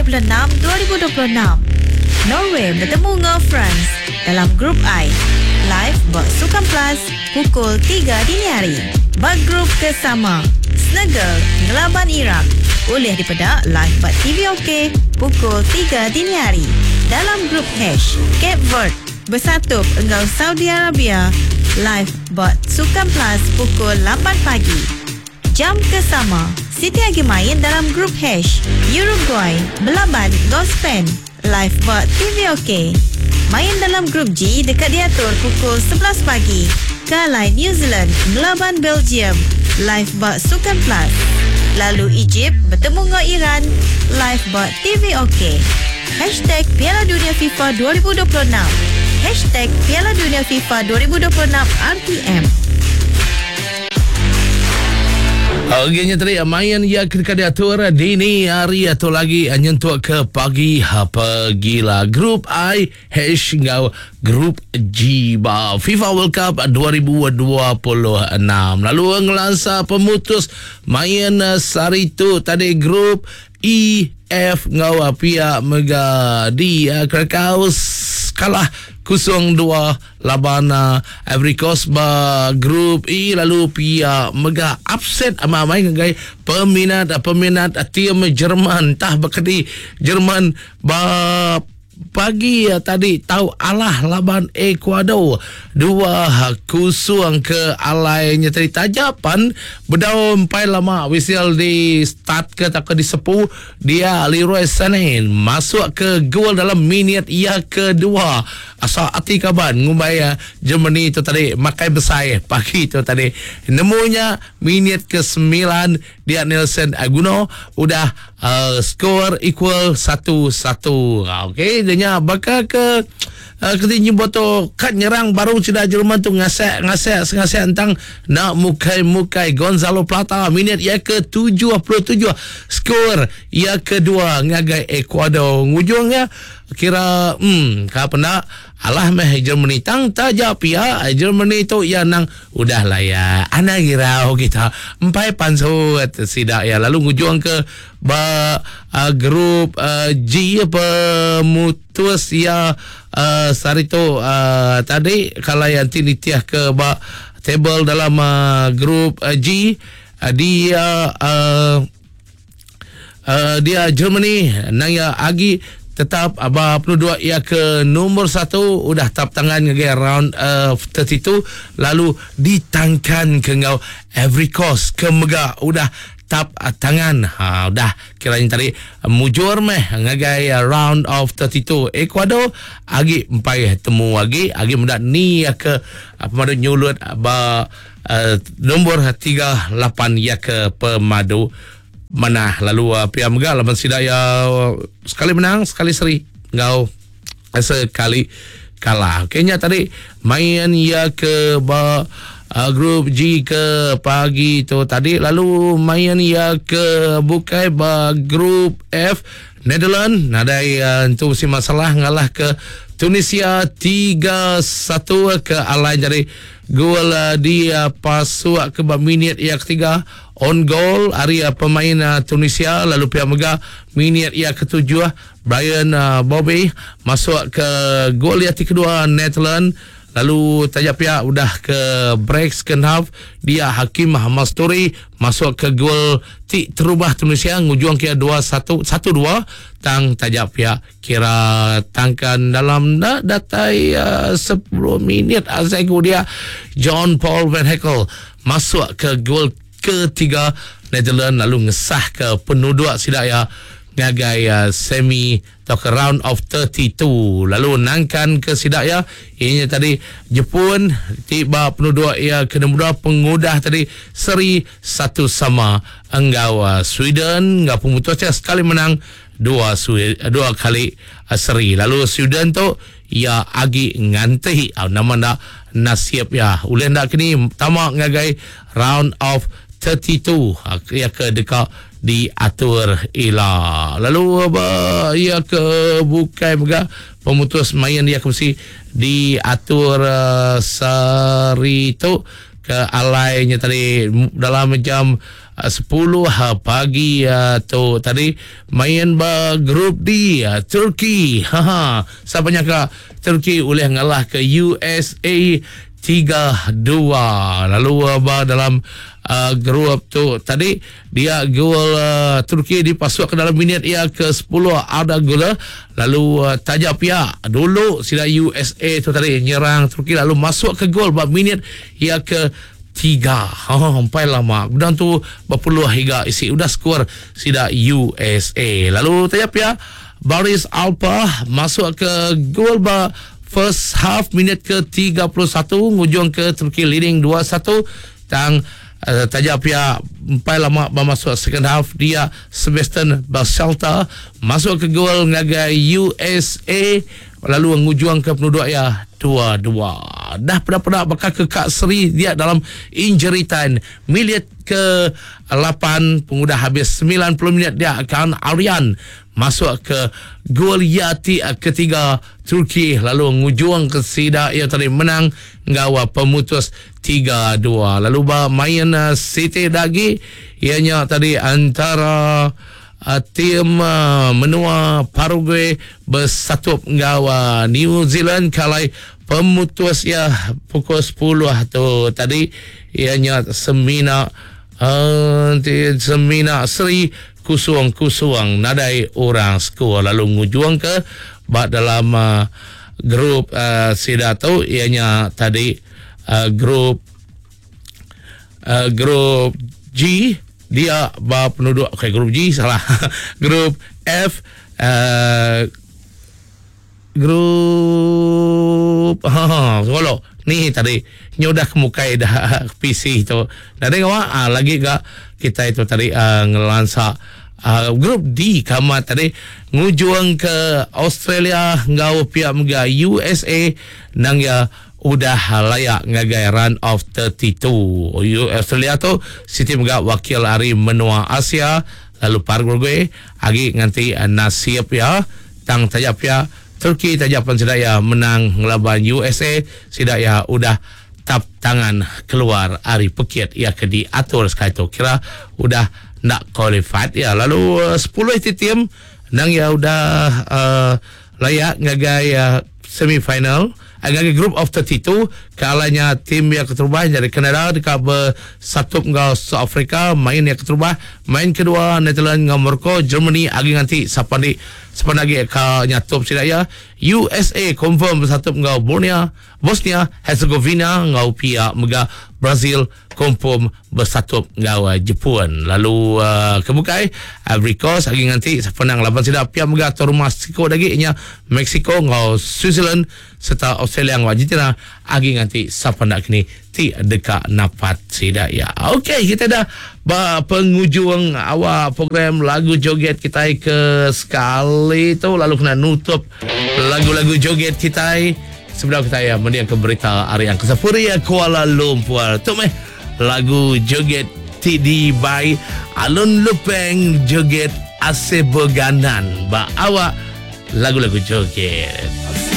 hari bulan 6 2026. Norway betemu enggau France dalam Group I. Live ba Sukan Plus pukul tiga dini hari. Ba grup ke sama, Senegal ngelaban Iraq ulih dipeda live ba TV OK pukul tiga dini hari. Dalam Group H, Cape Verde besatup enggau Saudi Arabia live ba Sukan Plus pukul lapan pagi. Jam ke sama, siti agi main dalam Group H, Uruguay belaban enggau Spain live ba TV OK. Main dalam Group G deka diatur pukul 11 pagi ke alai New Zealand ngelaban Belgium live ba Sukan Plus. Lalu Egypt betemu enggau Iran live ba TV OK. Hashtag Piala Dunia FIFA 2026 Hashtag Piala Dunia FIFA 2026 RTM. Okey nya tadi main iya ke deka diatur dini hari atau lagi nyentuk ke pagi pegila Group I H enggau Group G ba FIFA World Cup 2026. Lalu ngelansa pemutus main sehari tu tadi Group E, F enggau pia mega D Krakau kalah 0-2 laban Ivory Coast ba Group E lalu pia mega upset amai-amai ngagai peminat-peminat tim Jerman tah bekedi Jerman ba Pagi tadi tau alah laban Ecuador 2-0 ke alai nya tadi taja pan bedau empai lama whistle di start ke tauka disepu dia Leroy Sane masuk ke gol dalam minit iya kedua asa ati kaban ngumbai Germany tu tadi makai besai pagi tu tadi nemu nya minit ke semilan Dia Nelson Aguno udah uh, skor equal 1-1. Okey, dia nya baka ke uh, keti nyebut tu kat nyerang baru sida Jerman tu ngasak ngasak sengasak entang nak mukai-mukai Gonzalo Plata minit ia ke 77 skor ia kedua ngagai Ecuador. Ngujungnya kira hmm ka penda Alah meh Germany tang taja pia Germany tu iya nang udah lah iya anang irau kita empai pansut sida iya lalu ngujung ke ba uh, grup uh, G pemutus iya uh, sehari tu uh, tadi kalau yang ti nitih ke ba table dalam uh, grup uh, G uh, dia uh, uh, dia Germany nang iya agi tetap aba penuduk iya ke nombor satu udah tap tangan ngagai round uh, 32 lalu ditangkan ke enggau Ivory Coast ke mega udah tap uh, tangan ha udah kiranya tadi mujur meh ngagai uh, round of 32 Ecuador agi empai temu agi agi meda ni ke uh, pemadu nyulut ba uh, nombor 38 iya ke pemadu manah lalu uh, pia mega laban sida iya sekali menang sekali seri enggau sekali kalah. Okey nya tadi main iya ke ba uh, grup G ke pagi tu tadi lalu main iya ke bukai ba grup F Netherlands nadai uh, entu mesti masalah ngalah ke Tunisia 3-1 ke alai jadi gol uh, di uh, pasuk ke ba minit yang ketiga On goal ari pemain Tunisia lalu pia mega minit iya ketujuh Brian Bobby masuk ke gol iya ti kedua Netherlands lalu taja pia udah ke break second half dia Hakim Masturi masuk ke gol ti terubah Tunisia ngujung ke 2-1 1-2 tang taja pia kira tangkan dalam dah datai uh, 10 minit asai ku dia John Paul Van Heckel Masuk ke gol ketiga Netherlands lalu ngesahka penuduk sida iya ngagai semi tauka round of 32 lalu nangkan ke sida iya iya nya tadi Jepun ti ba penuduk iya ke nombor dua pengudah tadi seri satu sama enggau Sweden enggau pemutus iya sekali menang dua dua kali seri lalu Sweden tu Iya agi nganti nama enda nasib iya ulih enda kini tama ngagai round of 32 iya ke deka diatur ila. Lalu ba iya ke bukai mega pemutus main iya ke mesti diatur sehari tu ke alai nya tadi dalam jam. 10 pagi tu tadi main ba grup D Turki. Ha siapa nyangka Turki ulih ngalah ke USA 3-2. Lalu ba dalam uh, grup tu tadi dia gol uh, Turki dipasuk ke dalam minit ia ke 10 ada gol lalu uh, taja pia dulu sida USA tu tadi nyerang Turki lalu masuk ke gol ba minit ia ke 3. Ha empai lama. Kemudian tu berpuluh hingga isi udah skor sida USA. Lalu taja pia Baris Alpa masuk ke gol ba first half minit ke 31 ngujung ke Turki leading 2-1 tang uh, taja pia empai lama ba masuk second half dia Sebastian Baselta masuk ke gol ngagai USA lalu ngujung ke penduduk ya 2-2. Dah peda-peda bakal ke Kak Seri dia dalam injury time minit ke 8 pengudah habis 90 minit dia akan Aryan masuk ke gol Yati ketiga Turki lalu ngujung ke sida ia tadi menang ngau pemutus 3-2. Lalu ba main City lagi ianya tadi antara tim menua Paraguay bersatup ngau New Zealand kalai pemutus ya pukul 10 tu tadi ianya semina semina seri kusung-kusung nadai orang skor lalu ngujung ke ba dalam grup sida tu ianya tadi grup grup G dia ba penduduk okay, grup G salah grup F grup ha solo ni tadi nyodah kemukai dah PC tu. Nadai ngawa lagi ga kita itu tadi ngelansa grup D kamat tadi ngujung ke Australia ngau pihak mega USA nang ya udah layak ngagai run of 32. Australia tu siti mega wakil hari menua Asia lalu Paraguay agi nganti nasib ya tang tajap ya Turki tajap pun sida ya menang ngelaban USA sida ya udah tap tangan keluar ari pekit ya ke diatur sekali tu kira udah nak qualified ya lalu 10 tim nang ya udah layak ngagai semifinal ngagai group of 32 kalanya tim yang keterubah dari Kanada dekat bersatu dengan South Africa main yang keterubah main kedua Netherlands dengan Morocco Germany agi nganti siapa ni siapa lagi ka nyatup sida ya USA confirm bersatu dengan Bosnia Herzegovina ngau pia mega Brazil confirm bersatu ngau Jepun lalu kebukai Ivory Coast agi nganti siapa nang laban sida pia mega atur rumah siko lagi nya Mexico ngau Switzerland serta Australia ngau Argentina agi nganti siapa nak kini ti dekat napat sida ya. Okey, kita dah ba penghujung awal program lagu joget kita ke sekali tu lalu kena nutup lagu-lagu joget kita sebelum kita ya mendiang ke berita hari yang kesepuri ya Kuala Lumpur. Tu meh lagu joget TD by Alun Lupeng joget Ase Beganan ba awak lagu-lagu joget.